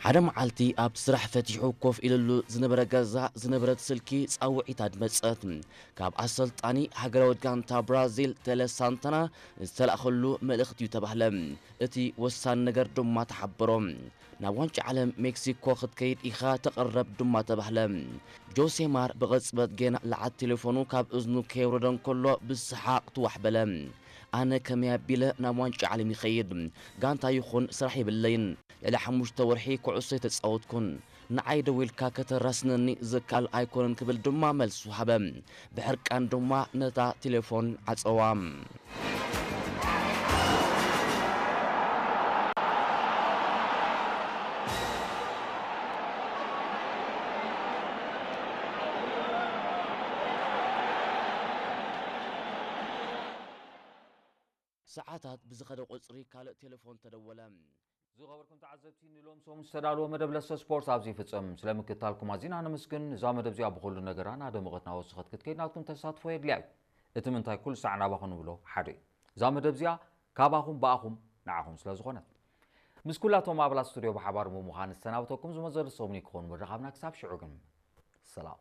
ሓደ መዓልቲ ኣብ ስራሕ ፈቲሑ ኮፍ ኢልሉ ዝነበረ ገዛ ዝነበረት ስልኪ ጻውዒት ኣድመጸት። ካብ ኣሰልጣኒ ሃገራዊት ጋንታ ብራዚል ተለ ሳንታና ዝተላእኸሉ መልእኽቲ እዩ ተባህለ። እቲ ወሳኒ ነገር ድማ ተሓበሮ። ናብ ዋንጫ ዓለም ሜክሲኮ ክትከይድ ኢኻ ተቐረብ ድማ ተባህለ። ጆሴ ማር ብቐጽበት ጌና ለዓት ቴሌፎኑ ካብ እዝኑ ከየውረደ እንከሎ ብሰሓቕ ትዋሕ በለ። ኣነ ከመይ ኣቢለ ናብ ዋንጫ ዓለም ይኸይድ? ጋንታ ይኹን ስራሕ የብለይን። ልዕሊ ሓሙሽተ ወርሒ ኩዕሶ ኣይተጻወትኩን። ንዓይ ደዊልካ ከተራስነኒ ዝከኣል ኣይኮነን ክብል ድማ መልሱ ሃበ። ብሕርቃን ድማ ነታ ቴሌፎን ዓጸዋ። ሰዓታት ብዝኸደ ቁጽሪ ካልእ ቴሌፎን ተደወለ። ዝኸበርኩም ተዓዘብቲ፣ ንሎም ሰሙን ዝተዳለወ መደብ ለሰ ስፖርት ኣብዚ ይፍጸም። ስለ ምክትታልኩም ኣዚና ነመስግን። እዛ መደብ እዚኣ ብኹሉ ነገራ እናደመቐት እናወሰኸት ክትከይድ ናትኩም ተሳትፎ የድልያ እዩ። እቲ ምንታይ ኩሉ ሳዕ ናባኹም ንብሎ ሓደ እዩ። እዛ መደብ እዚኣ ካባኹም ብኣኹም ንዓኹም ስለ ዝኾነት። ምስ ኩላቶም ኣባላት ስቱድዮ ብሓባር ብምዃን ዝሰናበተኩም ዝመዘሉ ሰሙን ክኾኑ ምርኻብና። ክሳብ ሽዑ ግን ሰላም።